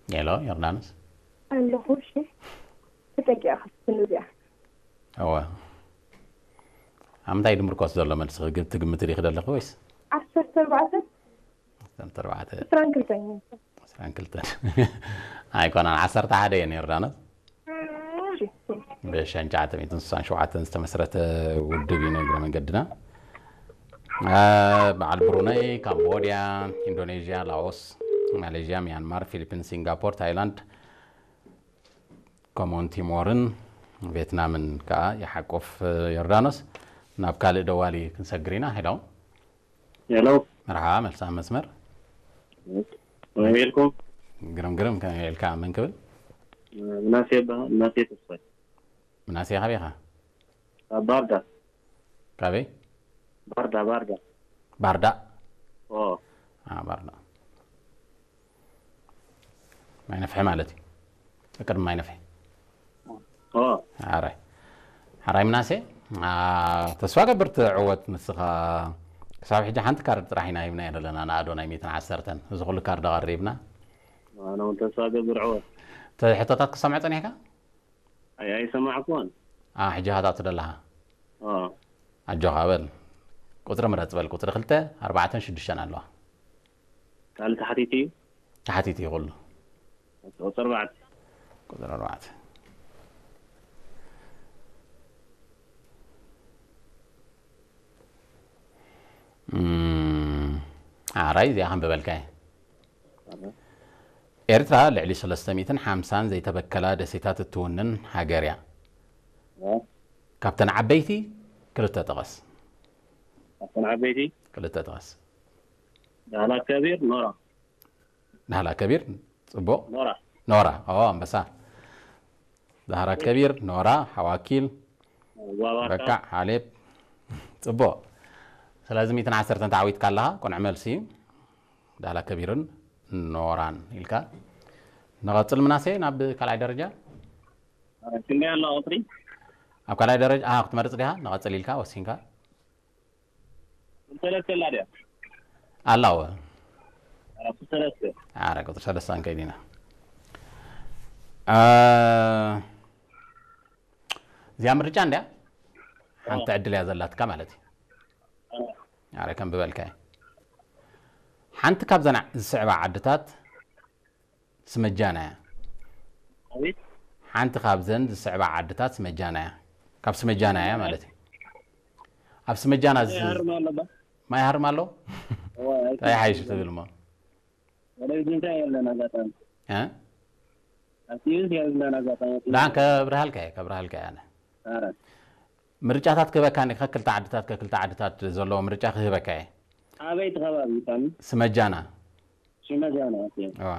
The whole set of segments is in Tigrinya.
ሄሎ ዮርዳኖስ። ኣለኹ። እሺ፣ ተጠቂኣ ክትፍትን እዚኣ። እወ። ኣብ ምንታይ ድምርኮስ ዘሎ መልሲ ትግምት ዲኺ ዘለኺ ወይስ? ዓሰርተ ኣርባዕተ ዓሰርተ ኣርባዕተ ዕስራን ክልተን። ዕስራን ክልተን ኣይኮነን፣ ዓሰርተ ሓደ እየን ዮርዳኖስ። እሺ። ብሸን ትሽዓተ ሚእትን ስሳን ሸውዓተን ዝተመስረተ ውድብ እዩ። ንእግረ መንገድና እ፣ በዓል ብሩነይ፣ ካምቦድያ፣ ኢንዶኔዥያ፣ ላኦስ፣ ማሌዥያ፣ ሚያንማር፣ ፊሊፒንስ፣ ሲንጋፖር፣ ታይላንድ፣ ኮሞን ቲሞርን ቬትናምን ከዓ ይሓቁፍ። ዮርዳኖስ፣ ናብ ካልእ ደዋሊ ክንሰግር ኢና። ሄሎ። ሄሎ። መርሓ፣ መልሳ መስመር። ከመይ ኢልኩም? ግርም ግርም፣ ከመይ ኢልካ? መን ክብል? ምናሴ ይበሃል። ምናሴ ተስፋይ። ምናሴ፣ ካበይ ኢኻ? ካብ ባህርዳር። ካበይ? ባህርዳር፣ ባህርዳር። ባርዳ። ኦ። አ፣ ባርዳ። ማይ ነፍሒ ማለት እዩ። ቅድሚ ማይ ነፍሒ። ኦ። ሓራይ። ሓራይ ምናሴ፣ አ፣ ተስፋ ገብር ትዕወት ንስኻ። ክሳብ ሕጂ ሓንቲ ካርድ ጥራሕ ኢና ሂብና ዘለና፣ ንኣዶ ናይ ሚእትን ዓሰርተን። እዚ ኩሉ ካርድ ኣቐሪብና። ኣነ እውን ተስፋ ገብር ዕወት። እቲ ሕቶታት ክሰምዖ ጸኒሕካ? ኣይ፣ ኣይሰማዕኩዎን። አ፣ ሕጂ ሃታቱ ደለኻ። ኦ። ኣጆኻ በል። ቁጽሪ ምረጽ በል። ቁጽሪ ክልተ፣ ኣርባዕተን ሽዱሽተን ኣለዋ። ካልእ ተሓቲቱ እዩ? ተሓቲቱ እዩ ኩሉ። ቁጽሪ ኣርባዕተ። ቁጽሪ ኣርባዕተ። እም፣ ሓራይ እዚኣ ከንብበልካ እየ። ኤርትራ ልዕሊ ሰለስተ ሚእትን ሓምሳን ዘይተበከላ ደሴታት እትውንን ሃገር እያ። ኦ። ካብተን ዓበይቲ ክልተ ጥቐስ። ካብተን ዓበይቲ? ክልተ ጥቐስ። ዳህላክ ከቢር፣ ኖራ። ዳህላክ ከቢር፣ ጽቡቕ። ኖራ። ኖራ፣ ኦ፣ ኣንበሳ። ዳህላክ ከቢር፣ ኖራ፣ ሓዋኪል፣ ዋባካ። በካዕ፣ ሓሌብ። ጽቡቕ። ስለዚ ሚእትን ዓሰርተን ተዓዊትካ ኣለኻ፣ ቅኑዕ መልሲ እዩ። ዳህላክ ከቢርን ኖራን ኢልካ። ንቐጽል ምናሴ ናብ ካልኣይ ደረጃ። ክንደይ ኣሎ ቁጽሪ? ኣብ ካልኣይ ደረጃ፣ ኣሃ፣ ክትመርጽ ዲኻ? ንቐጽል ኢልካ ወሲንካ? ሰለስተ ኣላ ድያ? ኣላ፣ እወ። ኣራት ሰለስተ። ኣረ፣ ቁጽሪ ሰለስተ ክንከይድ ኢና። እ፣ እዚኣ ምርጫ እንድያ። ሓንቲ ዕድል እያ ዘላትካ ማለት እዩ። ኣረ፣ ከም ብበልካ እየ። ሓንቲ ካብዘን ዝስዕባ ዓድታት ስመጃና እያ። ኣቤት። ሓንቲ ካብዘን ዝስዕባ ዓድታት ስመጃና እያ። ካብ ስመጃና እያ ማለት እዩ። ኣብ ስመጃና ዝ-፣ ይሃርም ኣሎ ባ? ማይ ሃርም ኣሎ? እዋ፣ እንታይ ሓይሽ ትብል እሞ? ወደ ግንታ የለን ኣጋጣሚ። እ? ኣብቲ ዩዝ የለን ኣጋጣሚ። ደሓን ከብርሃልካ እየ፣ ከብርሃልካ እየ ኣነ። ኣረ። ምርጫታት ክህበካ እየ፣ ከክልተ ዓድታት፣ ከክልተ ዓድታት ዘለዎ ምርጫ ክህበካ እየ። ኣበይ እቲ ከባቢ ይታኒ? ስመጃና። ሽመጃና፣ ኦኬ። እዋ።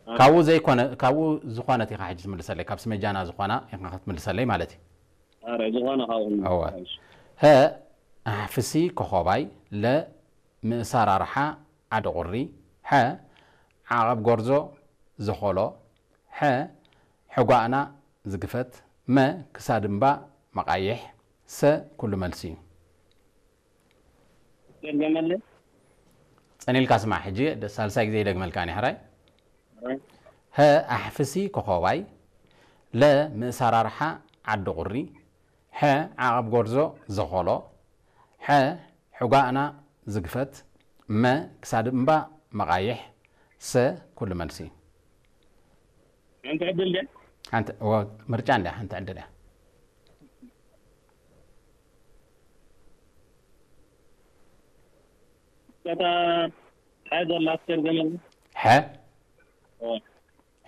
ካብኡ ዘይኮነ፣ ካብኡ ዝኾነት ኢኻ ሕጂ ትምልሰለይ፣ ካብ ስመጃና ዝኾና ኢኻ ክትምልሰለይ ማለት እዩ። ኣረ፣ ዝኾነ ካብኡ። እዋ። ሀ፣ ኣሕፍሲ ኮኾባይ፣ ለ፣ ምእሳራርሓ ዓዲ ቁሪ፣ ሐ፣ ዓቐብ ጎርዞ ዘኾሎ፣ ሐ፣ ሕጓእና ዝግፈት፣ መ፣ ክሳድ እምባ መቓይሕ፣ ሰ፣ ኩሉ መልሲ እዩ። ደገመለ። ጸኒልካ ስማዕ፣ ሕጂ ደ-፣ ሳልሳይ ግዜ ይደግመልካ እኔ፣ ሕራይ። ኣረ። ሀ፣ ኣሕፍሲ ኮኾባይ፣ ለ፣ ምእሳራርሓ ዓዲ ቁሪ፣ ሐ፣ ዓቐብ ጎርዞ ዘኾሎ፣ ሐ፣ ሕጓእና ዝግፈት፣ መ፣ ክሳድ እምባ መቓይሕ፣ ሰ፣ ኩሉ መልሲ። ሓንቲ ዕድል ድያ? ሓንቲ፣ እወ፣ ምርጫ እንድያ፣ ሓንቲ ዕድል እያ። እታ ሓ ዘላ ትርገመሉ? ሐ፣ ኦ።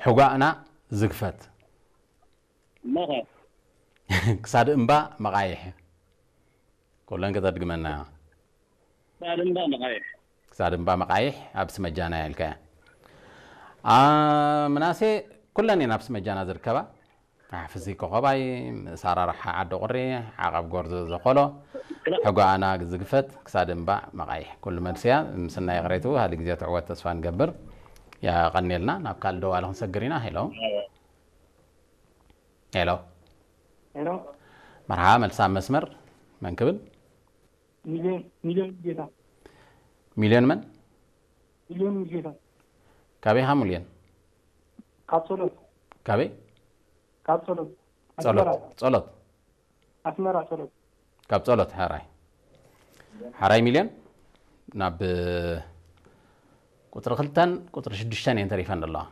ሕጓእና ዝግፈት። እሞኸ? ክሳድ እምባ መቓይሕ። ኩለን ከተድግመና። ክሳድ እምባ መቓይሕ። ክሳድ እምባ መቓይሕ ኣብ ስመጃና ኢልካያ። አ፣ ምናሴ፣ ኩለን እየን ኣብ ስመጃና ዝርከባ። ኣሕፍሲ ኮኸባይ፣ ምእሳራርሓ ዓዲ ቁሪ፣ ዓቐብ ጎርዞ ዘኾሎ፣ ሕጓኣና ዝግፈት፣ ክሳድ እምባ መቓይሕ። ኩሉ መልሲ እያ። ምስናይ ይቕሬቱ፣ ሃሊ ግዜ ትዕወት ተስፋ ንገብር። የቐንየልና። ናብ ካልእ ደዋሊ ክንሰግር ኢና። ሄሎ። ሄሎ። ሄሎ። መርሓ፣ መልሲ ኣብ መስመር። መን ክብል? ሚልዮን፣ ሚልዮን ጌታ። ሚልዮን መን? ሚልዮን ጌታ። ካበይ ኢኻ ሚልዮን? ካብ ጸሎት ካበይ? ካብ ጸሎት ጸሎት ኣስመራ ጸሎት ኣስመራ ጸሎት ካብ ጸሎት ሓራይ ሓራይ ሚልዮን ናብ ቁፅሪ ክልተን ቁፅሪ ሽዱሽተን እየን ተሪፈን ዘለዋ።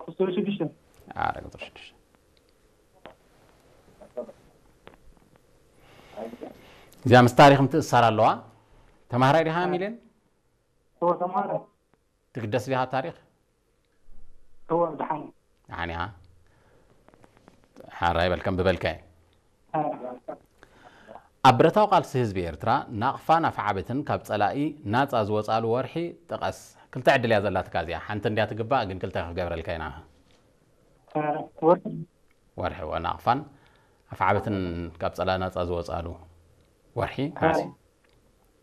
ቁፅሪ ሽዱሽተ ኣረ ቁፅሪ ሽዱሽተ እዚኣ ምስ ታሪክ ምትእሳር ኣለዋ። ተማሃራይ ዲኻ ሚልዮን? እወ ተማሃራይ ትግደስ ዲኻ ታሪክ? እወ ደሓን ደሓን ኢኻ? ሓራይ በልከም ብበልካ እየ። ኣብ ብረታዊ ቃልሲ ህዝቢ ኤርትራ ናቕፋን ኣፍዓበትን ካብ ጸላኢ ናጻ ዝወጻሉ ወርሒ ጥቀስ። ክልተ ዕድል እያ ዘላትካ እዚኣ። ሓንቲ እንድያ ትግባእ ግን ክልተ ክገብረልካ ኢና። ወርሒ ወርሒ ወ ናቕፋን ኣፍዓበትን ካብ ጸላኢ ናጻ ዝወጻሉ ወርሒ ነሓሰ።